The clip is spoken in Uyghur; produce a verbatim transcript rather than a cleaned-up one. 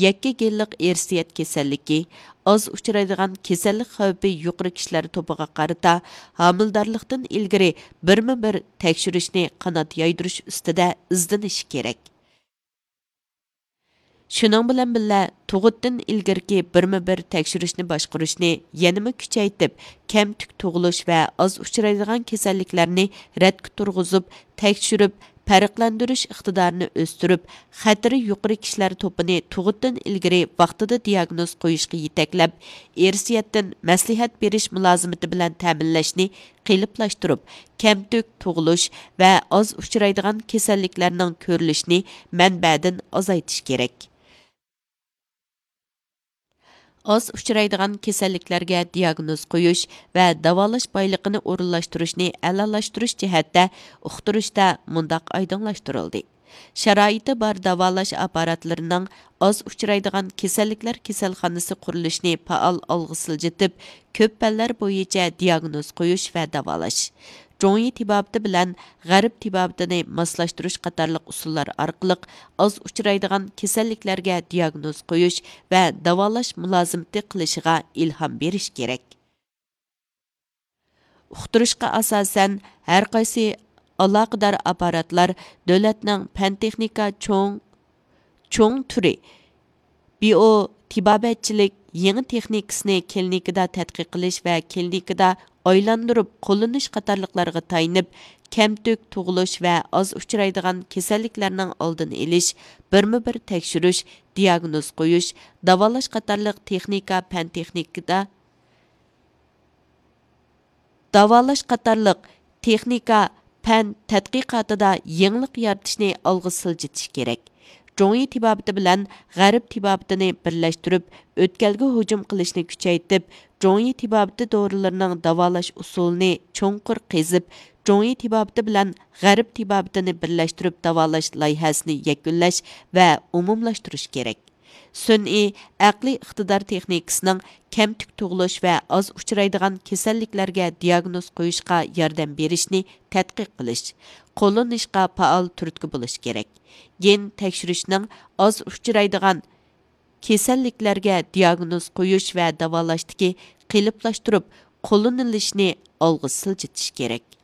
يەككە گېنلىق ئىرسىيەت كېسەللىكى، ئاز ئۇچرايدىغان كېسەللىك خەۋپى يۇقىرى كىشىلەر توپىغا قارىتا ھامىلىدارلىقتىن ئىلگىرى بىرمۇ بىر تەكشۈرۈشنى قانات يايدۇرۇش ئۈستىدە ئىزدىنىشى كېرەك. شۇنىڭ بىلەن بىللە، تۇغۇتتىن ئىلگىرىكى بىرمۇ بىر تەكشۈرۈشنى باشقۇرۇشنى يەنىمۇ كۈچەيتىپ، كەمتۈك تۇغۇلۇش ۋە ئاز ئۇچرايدىغان كېسەللىكلەرنى رەتكە تۇرغۇزۇپ، تەكشۈرۈپ، پەرقلەندۈرۈش ئىقتىدارىنى ئۆستۈرۈپ، خەتىرى يۇقىرى كىشىلەر توپىنى تۇغۇتتىن ئىلگىرى ۋاقتىدا دىياگنوز قويۇشقا يېتەكلەپ، ئىرسىيەتتىن مەسلىھەت بېرىش مۇلازىمىتى بىلەن تەمىنلەشنى قېلىپلاشتۇرۇپ، كەمتۈك تۇغۇلۇش ۋە ئاز ئۇچرايدىغان كېسەللىكلەرنىڭ كۆرۈلۈشىنى مەنبەدىن ئازايتىش كېرەك. ئاز ئۇچرايدىغان كېسەللىكلەرگە دىياگنوز قويۇش ۋە داۋالاش بايلىقىنى ئورۇنلاشتۇرۇشنى ئەلالاشتۇرۇش جەھەتتە ئۇقتۇرۇشتا مۇنداق ئايدىڭلاشتۇرۇلدى: شارائىتى بار داۋالاش ئاپپاراتلىرىنىڭ ئاز ئۇچرايدىغان كېسەللىكلەر كېسەلخانىسى قۇرۇلۇشىنى پائال ئالغا سىلجىتىپ، كۆپ پەنلەر بويىچە دىياگنوز قويۇش ۋە داۋالاش، جۇڭيى تېبابىتى بىلەن غەرب تېبابىتىنى ماسلاشتۇرۇش قاتارلىق ئۇسۇللار ئارقىلىق ئاز ئۇچرايدىغان كېسەللىكلەرگە دىياگنوز قويۇش ۋە داۋالاش مۇلازىمىتى قىلىشىغا ئىلھام بېرىش كېرەك. ئۇقتۇرۇشقا ئاساسەن، ھەر قايسى ئالاقىدار ئاپپاراتلار دۆلەتنىڭ پەن تېخنىكا چوڭ، چوڭ تۈرى، بىئو تېبابەتچىلىك يېڭى تېخنىكىسىنى كلىنىكىدا تەتقىق قىلىش ۋە كلىنىكىدا ئايلاندۇرۇپ قوللىنىش قاتارلىقلارغا تايىنىپ، كەمتۈك تۇغۇلۇش ۋە ئاز ئۇچرايدىغان كېسەللىكلەرنىڭ ئالدىنى ئېلىش، بىرمۇ بىر تەكشۈرۈش، دىياگنوز قويۇش، داۋالاش قاتارلىق تېخنىكا پەن تېخنىكىدا داۋالاش قاتارلىق تېخنىكا پەن تەتقىقاتىدا يېڭىلىق يارىتىشنى ئالغا سىلجىتىش كېرەك. جۇڭيى تېبابىتى بىلەن غەرب تېبابىتىنى بىرلەشتۈرۈپ، ئۆتكەلگە ھۇجۇم قىلىشنى كۈچەيتىپ، جۇڭيى تېبابىتى دورىلىرىنىڭ داۋالاش ئۇسۇلىنى چوڭقۇر قېزىپ، جۇڭيى تېبابىتى بىلەن غەرب تېبابىتىنى بىرلەشتۈرۈپ داۋالاش لايىھەسىنى يەكۈنلەش ۋە ئومۇملاشتۇرۇش كېرەك. سۈنئىي ئەقلىي ئىقتىدار تېخنىكىسىنىڭ كەمتۈك تۇغۇلۇش ۋە ئاز ئۇچرايدىغان كېسەللىكلەرگە دىياگنوز قويۇشقا ياردەم بېرىشنى تەتقىق قىلىش، قوللىنىشقا پائال تۈرتكە بولۇش كېرەك. گېن تەكشۈرۈشنىڭ ئاز ئۇچرايدىغان كېسەللىكلەرگە دىياگنوز قويۇش ۋە داۋالاشتىكى قېلىپلاشتۇرۇپ قوللىنىلىشىنى ئالغا سىلجىتىش كېرەك.